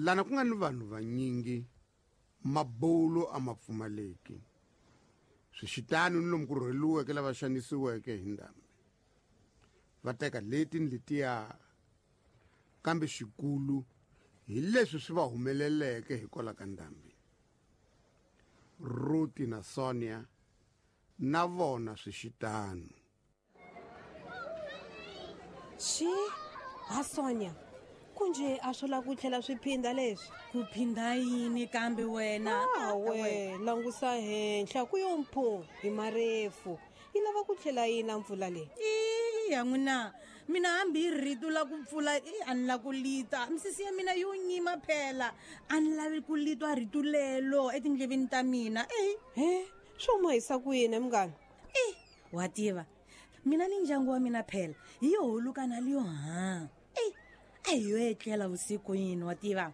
Lana ku nga ni vanhu vanyingi, mabulo a ma pfumaleki. Swixitano ni lomu ku rhweliweke lava xanisiweke hi ndhambi. Va teka leti ni letiya, kambe xikulu hi leswi swi va humeleleke hikwalaho ka ndhambi. Ruti na Sonia na vona swixitano. Xi ha Sonia, kunje a swo lava ku tlhela swi phinda leswi? Ku phinda yini kambe wena? Awe, langusa henhla ku yo mphu hi marefu. Yi lava ku tlhela yi na mpfula leyi. Ya n'wina, mina hambi hi rito la ku pfula i a ni la ku lita. Misisi ya mina yo nyima phela. A ni lavi ku litwa rito lelo etindleveni ta mina. Eh. He, swo mahisa ku yini munghana? Eh, wa tiva. Mina ni ndyangu wa mina phela hi yo huluka na liyo ha. Eh, a hi yo etlela vusiku yini wa tiva.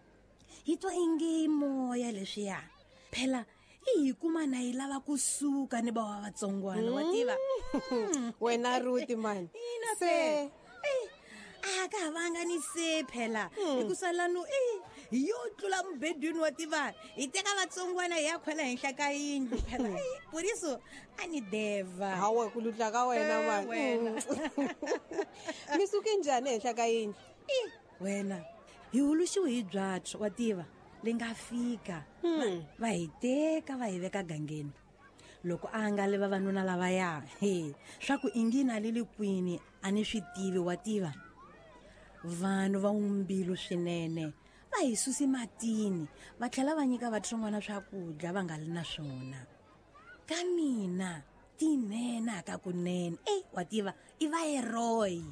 Hi twa ingi moya leswiya. Phela i hi kuma na yi lava kusuka ni bawa vatsongwana wa tiva. Wena Ruti mani. Ina Se se. A ka ha vanga ni se phela. Hikusa lanu i hi yo tlula mubedweni wa tiva. Hi teka vatsongwana hi ya khwela henhla ka yindlu phela. Puriso a ni deva. Hawe ku lutla ka wena Eh, mani. wena. Mi suke njhani henhla ka yindlu? I, wena hi huluxiwe hi byatso wa tiva le nga fika. Va hi teka va hi veka gangeni. Loko a nga le vavanuna lavaya, he, swa ku ingi na le le kwini a ni swi tivi wa tiva. Vanhu va mbilu swinene va hi susi matini va tlhela va nyika vatsongwana swakudya va nga li na swona. Ka mina tinene ka kunene. Ey, wa tiva i va heroyi.